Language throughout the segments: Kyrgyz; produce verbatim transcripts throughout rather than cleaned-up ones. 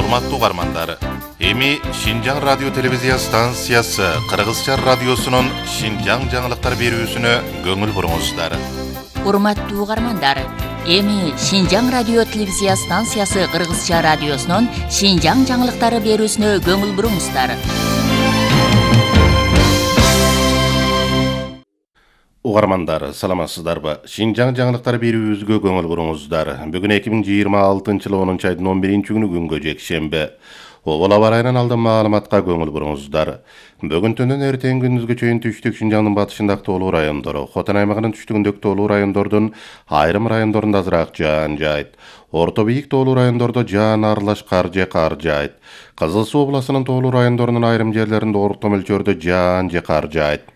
Урматтуу угармандар, эми Шинжаң радио телевизия станциясы Кыргызча радиосунун Шинжаң жаңылыктар берүүсүнө көңүл буруңуздар. Урматтуу угармандар, эми Шинжаң радио телевизия станциясы Кыргызча радиосунун Шинжаң жаңылыктары берүүсүнө көңүл буруңуздар. Угармандар, саламатсыздарбы? Шинжаң жаңылыктар берүүбүзгө көңүл буруңуздар. Бүгүн эки миң жыйырма алтынчы жылы онунчу айдын он биринчи күнү күнгө жекшемби. Обол аба ырайынан алдын маалыматка көңүл буруңуздар. Бүгүн түндөн эртең күндүзгө чейин түштүк Шинжаңдын батышындагы тоолуу райондору, Хотон аймагынын түштүгүндөгү тоолуу райондордун айрым райондорунда азыраак жаан жаайт. Орто бийик тоолуу райондордо жаан аралаш кар же кар жаайт. Кызыл Суу областынын тоолуу райондорунун айрым жерлеринде орто мөлчөрдө жаан же кар жаайт.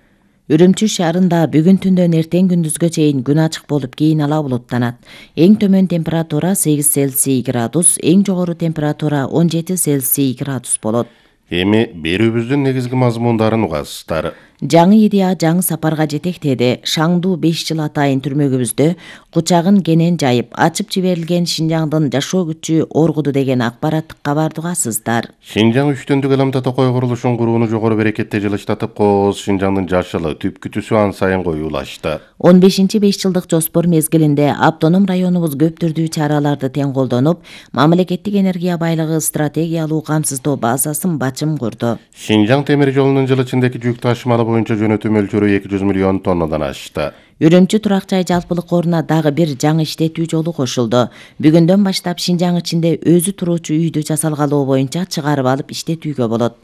Үрүмчү шаарында бүгүн түндөн эртең күндүзгө чейин күн ачык болуп, кийин ала булуттанат. Эң төмөн температура сегиз Цельсий градус, эң жогору температура он жети Цельсий градус болот. Эми берүүбүздүн негизги мазмундарын угасыздар. Жаңы идея жаңы сапарга жетектеди. Шаңдуу беш жыл атайын түрмөгүбүздө кучагын кенен жайып, ачып жиберилген Шинжаңдын жашоо күчү оргуду деген акбараттык кабарды угасыздар. Шинжаң үчтөндүк Эламта Токой курулушун курууну жогору берекетте жылыштатып, кооз Шинжаңдын жашылы түп күтүүсү ан сайын коюлашты. он бешинчи беш жылдык жоспор мезгилинде автоном районубуз көп түрдүү чараларды тең колдонуп, мамлекеттик энергия байлыгы стратегиялуу камсыздоо базасын бачым курду. Шинжаң темир жолунун жыл ичиндеки жүк ташымалы боюнча жөнөтүү мөлчөрү эки жүз миллион тоннадан ашты. Үрүмчү турак жай жалпылык коруна дагы бир жаңы иштетүү жолу кошулду. Бүгүндөн баштап Шинжаң ичинде өзү туруучу үйдү жасалгалоо боюнча чыгарып алып иштетүүгө болот.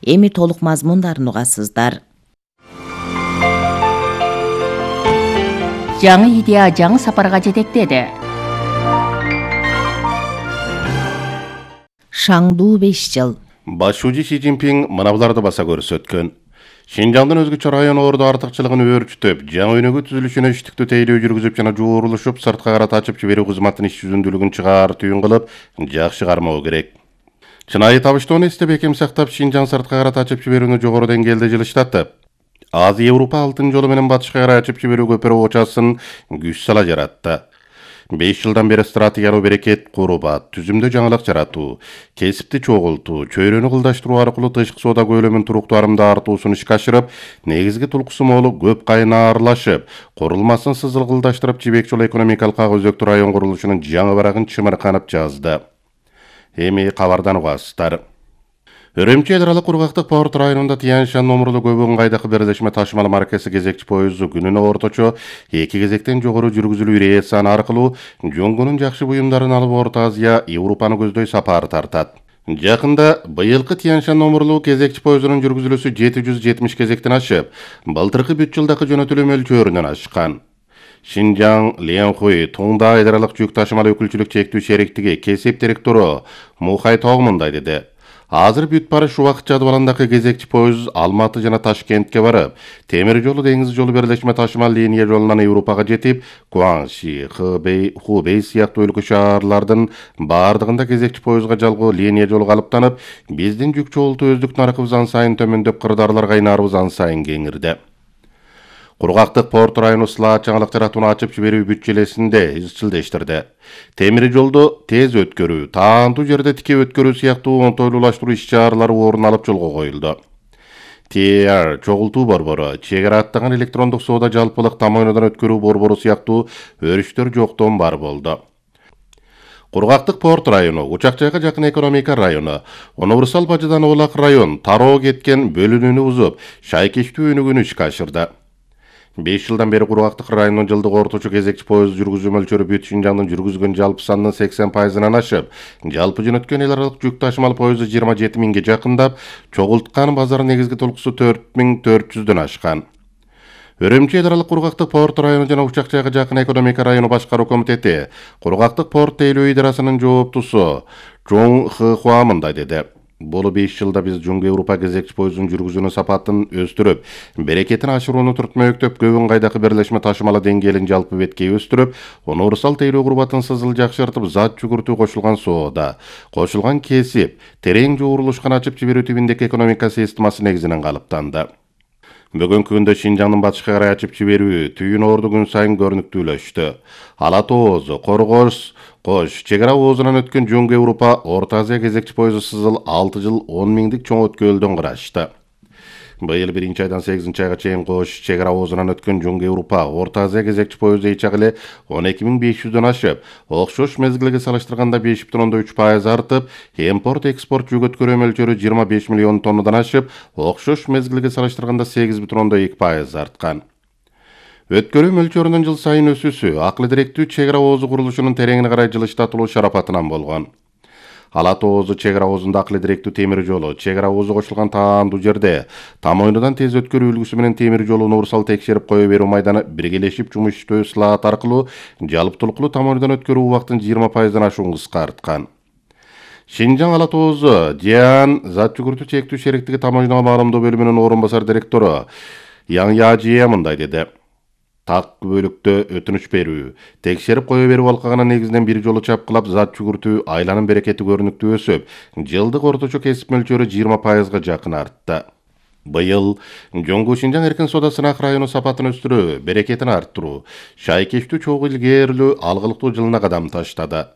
Эми толук мазмундарын угасыздар. Жаңы идея жаңы сапарга жетектеди. Шаңдуу беш жыл. Башчы Си Цзиньпин мына буларды баса көрсөткөн. Шинжаңдын өзгөчө район орду артыкчылыгын өөрчүтүп, жаңы өнөгө түзүлүшүнө иштиктүү тейлөө жүргүзүп жана жуурулушуп, сырткы карат ачып жиберүү кызматынын иш жүзүндүүлүгүн чыгаартүүн кылып, жакшы кармоо керек. Чынайы табыштоону эстеп, бекем сактап, Шинжаң сырткы карат ачып жиберүүнү жогору деңгээлде жылыштатып, Азия Европа алтын жолу менен батышка карай ачып жиберүү көпүрө очасын күч сала жаратты. беш жылдан бери стратегиялуу берекет курубат, түзүмдө жаңылык жаратуу, кесипти чогултуу, чөйрөнү кылдаштыруу аркылуу тышкы соода көлөмүн туруктуу арымда артуусун ишке ашырып, негизги тулкусу молу көп кайына аралашып, курулмасын сызылгылдаштырып, жибек жолу экономикалык ак өзөктүү район курулушунун жаңы барагын чымырканып жазды. Эми кабардан угасыздар. Үрүмчү эл аралык кургактык порт районунда Тянь-Шань номурлуу көбүн кайдакы бирлешме ташымал маркасы кезекчи поезду күнүнө орточо эки кезектен жогору жүргүзүлүү рейс аркылуу жуңгунун жакшы буюмдарын алып Орто Азия, Европаны көздөй сапар тартат. Жакында быйылкы Тянь-Шань номурлуу кезекчи поездунун жүргүзүлүүсү жети жүз жетимиш кезектен ашып, былтыркы бүт жылдагы жөнөтүлүү мөлчөрүнөн ашкан. Шинжаң Ленхуй Туңда айдаралык жүк ташымал өкүлчүлүк чектүү шериктиги кесип директору Мухай Тог мындай деди. Азыр бүт барыш убакыт жадыбалындагы кезекчи поезд Алматы жана Ташкентке барып, темир жолу деңиз жолу бирлешме ташымал линия жолунан Европага жетип, Гуанши, Хэбэй, Хубэй сыяктуу өлкө шаарлардын бардыгында кезекчи поездга жалгоо линия жолу калыптанып, биздин жүк чогултуу өздүк наркыбыз ан сайын төмөндөп, кырдаарларга айнаарыбыз ан сайын кеңирди. Кургактык порт району слаат жаңылык жаратууну ачып жиберүү бүт желесинде изчилдештирди. Темир жолду тез өткөрүү, таандуу жерде тике өткөрүү сыяктуу оңтойлуулаштыруу иш-чаралары орун алып жолго коюлду. Ти Ар чогултуу борбору, чек ара аттаган электрондук соода жалпылык тамойнодон өткөрүү борбору сыяктуу өрүштөр жоктон бар болду. Кургактык порт району, Учак-жайга жакын экономика району, Универсал бажыдан Олак район тароо кеткен бөлүнүүнү бузуп, шайкечтүү өнүгүүнү ишке ашырды. беш жылдан бери Кургактык районунун жылдык орточо кезекчи поезд жүргүзүү мөлчөрү бүт Шинжаңдын жүргүзгөн жалпы санынын сексен пайызынан ашып, жалпы жөнөткөн эл аралык жүк ташымал поезду жыйырма жети миңге жакындап, чогулткан базардын негизги толкусу төрт миң төрт жүздөн ашкан. Үрүмчү эл аралык Кургактык порт району жана Учак-жайга жакын экономика району башкаруу комитети, Кургактык порт тейлөө идарасынын жооптусу Чоң Хыхуа мындай деди. Бул беш жылда биз Жуңгу Европа кезекчи поездун жүргүзүүнүн сапатын өстүрүп, берекетин ашырууну түртмөктөп, көбүн кайдакы бирлешме ташымалы деңгээлин жалпы беткей өстүрүп, универсал тейлөө курбатын сызыл жакшыртып, зат жүгүртүү кошулган соода, кошулган кесип, терең жуурулушкан ачып жиберүү тибиндеги экономика системасы негизинен калыптанды. Бүгүнкү күндө Шинжаңдын батышка карай ачып жиберүү түйүн орду күн сайын көрүнүктүүлөштү. Ала Тооз, Коргоз, Кош, чек ара оозунан өткөн Жоңго Европа Орто Азия кезекчи поезу сызыл алты жыл он миңдик чоң өткөлдөн кырашты. Быйыл биринчи айдан сегизинчи айга чейин Кош, чек ара оозунан өткөн Жоңго Европа Орто Азия кезекчи поезу эчак эле он эки миң беш жүздөн ашып, окшош мезгилге салыштырганда беш бүтүн ондон үч пайыз артып, импорт-экспорт жүк өткөрүү мөлчөрү жыйырма беш миллион тоннадан ашып, окшош мезгилге салыштырганда сегиз бүтүн ондон эки пайыз арткан. Өткөрүү мөлчөрүнүн жыл сайын өсүүсү акыл директүү чек ара оозу курулушунун тереңине карай жылыштатылуу шарапатынан болгон. Алат оозу чек ара оозунда акыл директүү темир жолу, чек ара оозу кошулган таандуу жерде там ойнудан тез өткөрүү үлгүсү менен темир жолун урсал текшерип кое берүү майданы биргелешип жумуш иштөө слаат аркылуу жалптулуктуу там ойнудан өткөрүү убактын жыйырма пайыздан ашуун кыскарткан. Шинжаң алат оозу Диан зат жүгүртүү чектүү шериктиги там ойнуга маалымдоо бөлүмүнүн орун басар директору Яң Яжия мындай деди. Так бөлүктө өтүнүч берүү, текшерип кое берүү алкагына негизинен бир жолу чапкылап зат жүгүртүү айланын берекети көрүнүктүү өсүп, жылдык орточо кесип мөлчөрү жыйырма пайызга жакын артты. Быйыл Жоңго Шинжаң эркин соода сынак району сапатын өстүрүү, берекетин арттыруу, шайкештүү чогуу илгээрлүү алгылыктуу жылына кадам таштады.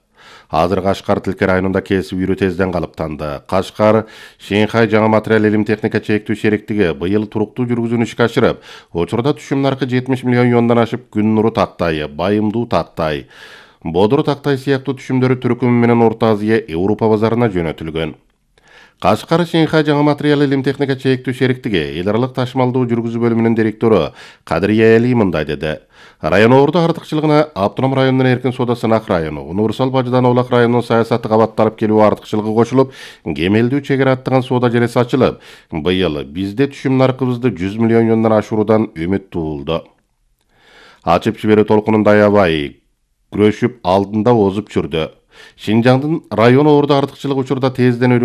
Азыр Кашкар Тилке районунда кесип үйрүү тезден калыптанды. Кашкар Шенхай жаңы материал илим техника чектүү шериктиги быйыл туруктуу жүргүзүүнү ишке ашырып, учурда түшүм наркы жетимиш миллион юандан ашып, Күн нуру тактай, Байымдуу тактай, Бодуру тактай сыяктуу түшүмдөрү түркүмү менен Орто Азия Европа базарына жөнөтүлгөн. Кашкар Шенхай жаңы материал илим техника чектүү шериктиги эл аралык ташымалдоо жүргүзүү бөлүмүнүн директору Кадырия Эли мындай деди. Район орду артыкчылыгына автоном районунун эркин соода сынак району, универсал бажыдан Олак районунун саясаты кабатталып келүү артыкчылыгы кошулуп, кемелдүү чек ара аттаган соода желеси ачылып, быйыл бизде түшүм наркыбызды жүз миллион юандан ашыруудан үмүт туулду. Ачып жиберүү толкунунда аябай күрөшүп алдында озуп жүрдү. Шинжаңдын район орду артыкчылык учурда тезден